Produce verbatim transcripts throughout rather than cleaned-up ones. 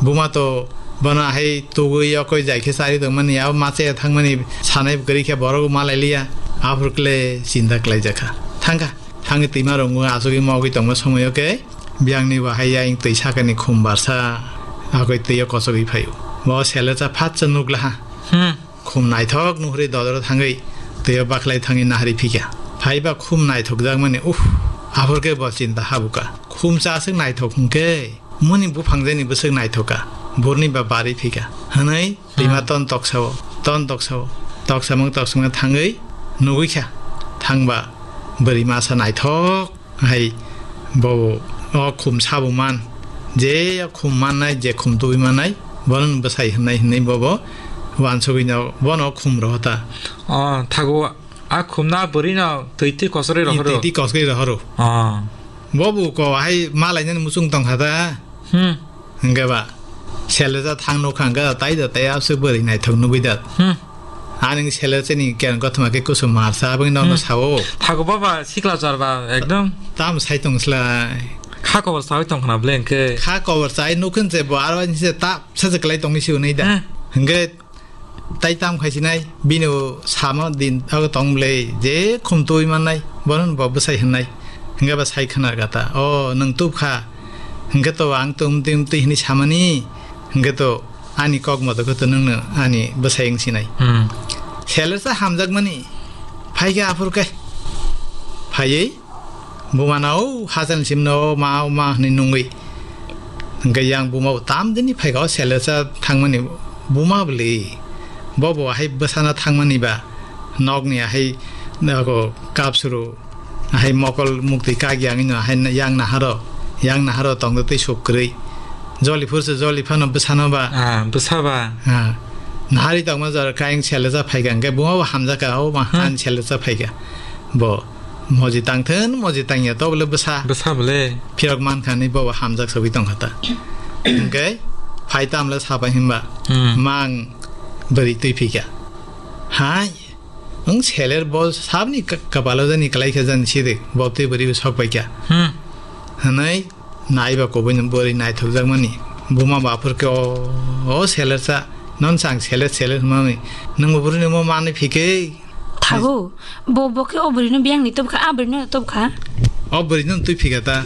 Buma to bono hai tugwi yokoi jai khe chari tongmani, abo ma chaya thangmani sanai kwrwi khe borok ma lai liya. Aphuru kle chinta khlai jakha. Thangkha. Thangwi twima rwngo achugwi mogwi tongma somoio khe biyangni bo hai yang twi sakani khum barsa agoi twiyo kochogwi phaio. Bo Selecha phatsa nukla ha. Hmm. Khum naithok nuhri dodoro thangwi twiyo baklai thangwi nahari phikha. Phaiba khum naithok jakmani, uff, aphuru khe bo chinta habuka. Khum cha aswk naithok hwnkhe. Muni buphang jani bwswk naithok kha, burni ba bari phi kha, hwnwi rima Hmm. ton toksao, ton toksao, toksamung toksamung thangwi nugwi kha. Thangba bwrwi masa naithok hai bobo o khum sabo man, je o khum mannai, je khum tubui mannai, bono bwsai hwnwi hwnwi bobo wansugwi no bono khum rohota. O, thago a khumna bwrwino twi twi kosrwi rohoro. Twi twi kosrwi rohoro. O. Bobo ko hai malainani muchung tongkha ta. Hmm. Hingke ba, Selecha thang nukha hingke tai da tai abse bwrwi naithok nugwi da. Hmm. Ani Selecha ni ken kothoma ke kusum marsa abang no Hmm. sao. Thago baba sikla char ba ekdom. Tam sai tong slai. Kha kobor sawi tong khna ble hingke. Kha kobor sai nukhin je bo aro ni se ta sa je klai tong si unai da. Hmm. Hingke Tai tam khai sinai, bini o samo din ago tong bwle, je khum twi mannai, bono bo bwsai hwnai. Hingke ba sai khna gata, "O, nwng tub kha." Hingke to ang tum tim twi hwnwi samani, hingke to ani kok moto khe to nwngno ani bwsai wng sinai. Hmm. Selecha hamjakmani, phai khe aphuru khe. Phaiwi, Bumano, "O, hachal simno, o ma, o ma," hwnwi nungwi. Hingke yang buma bo tam dini phaika o Selecha thangmani buma bwlwi. Bo bo hai bwsana thangmani ba nokni hai nogo kapsuru hai mokol muktwi kagi ang ino hai yang naharo, yang naharo tongdo tei suk kwrwi. Joli phursa joli phano bwsano ba. Ah, bwsa ba. Ah, nahari tongma jora kaiyang Selecha phaika hingke buma bo hamjaka o ma Hmm. han Selecha phaika. Bo moji tangthun, moji tangya to bole bwsa. Bwsa bole. Phiyok mankha ni bo hamjak sogwi tongkha ta. Hingke phai tamle sabai himba. Hmm. Mang bwrwi twi phika. Hai, wng seler bo sabni ka-, kapalo jani kwlai khe jani sidi, bo twi bwrwi bo sok paikha. Hmm. Hwnwi Naiba kubui no bwrwi naithokjakmani. Buma bo aphuru khe, "O, o selersa, non chang seler seler hwnmani. Nwng bo bwrwi no mo manwi phikhe." Thago, bo, bo khe o bwrwi no biyang ni tubkha, a bwrwi no tubkha. O bwrwi no twi phikha ta.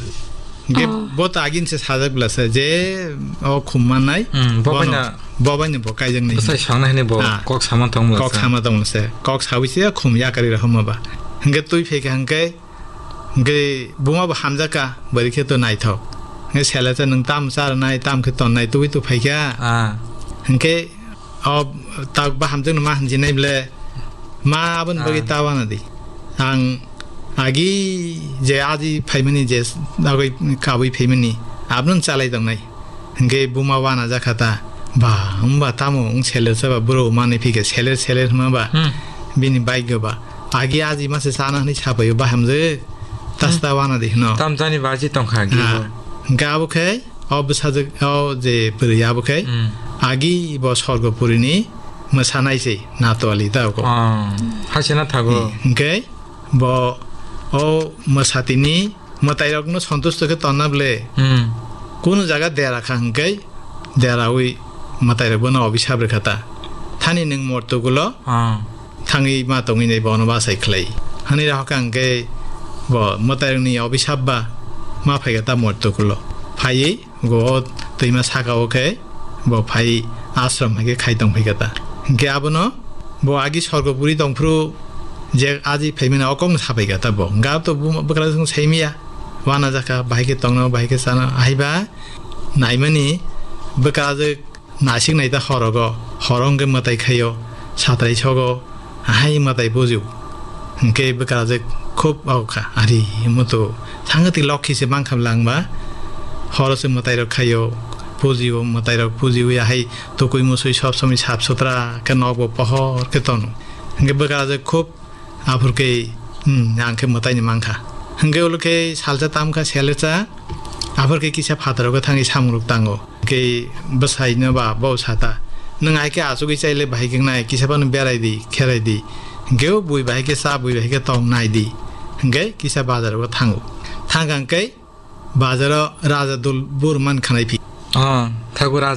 Ge Oh. Bo ta agin se sajak bla se je o khum mannai. Hmm, bo Bono, bai na bo bai no bo kaijak nai. Bwsai sangnai hwnwi bo Ah. Kok sama tong bla Kok se. Sama tong bla se. Kok sawi se khum yakari rw hwnma ba. Hwnkhe twi phikha hwnkhe Hwnkhe buma bo hamjak ka, bwrwi khe to naithok. Hwnkhe sele cha nwng tam cha rwnai, tam khe tonnai, tubui tu phai kha. Ah. Hwnkhe o tak ba hamjakno ma hinjinai ble, ma aboni bagwi Ah. Ta wana di. Ang agi je aji phaimani je dagwi kabui phaimani, abono chalai tongnai. Hwnkhe buma wana jakha ta, "Ba, wngba tamo wng seler chaba bwrwi manwi phikhe seler seler hwnma ba Hmm. Bini bike ba." Agi aji mase chana hwnwi sapaio bahamjwk, tasta Hmm. Wana di hwno. Tamjani baji tongkha agi Ah, bo. Hwnkhe abo khe o bwsajwk o je bwrwi abo khe Hmm. Agi bo Sorgopurini mwsanai se natwali ta ko. Ah, haisena thago. Hmm, hwnkhe bo o mwsatini mwtairokno sontusto khe tonna ble. Hmm. Kunu jaga dera kha hwnkhe deraui mwtairok bono obisap rwkha ta. Thani nwng mortukulo Ah. Thangwi ma tongwi nai bono bachai khlai. Hani rok hwnkhe bo mwtairokni obisap ba ma phaikha ta mortukulo. Phaiwi Go o twima saka o khe bo phai ashram hai khe khai tong phai kha ta. Hwnkhe abono bo agi sorgo puri tong phuru je aji phaimani o kokno sapai kha ta bo. Hwnkhe abo to buma-, bwkrajwk saimaya. Wana jakha bahai khe tongno, bahai khe chano. Ahaiba naimani bwkrajwk Naisik nai ta horogo, horo hwnkhe mwtai khaio, satrai sogo, ahai mwtai bujio. Hwnkhe bwkrajwk khub aokha, ari mutu thangwi twi lokhi se mankha langba, horo se mwtai rok khaio, pujio, mwtai rok pujiwi ahai tukui musui sob somoi sap sutra khe nokbo pohor khe tono. Hwnkhe bwkrajwk khub Aphuru khe, hmm, ang khe mwtaini mankha. Hwnkhe ulo khe salsa tamkha, selecha. Aphuru khe kisa phataro khe thangwi samungrok tango. Khe bwsaino ba bo sata, "Nwng hai khe achugwi chaile bahai khe wngnai, kisa phano berai di, kherai di. Hwnkhe o bui bahai khe cha, bui bahai khe tong nai di." Hwnkhe kisa bazaro thango. Thangkha hwnkhe bazaro raja dul bur man khanai phi. Ah, thago raja.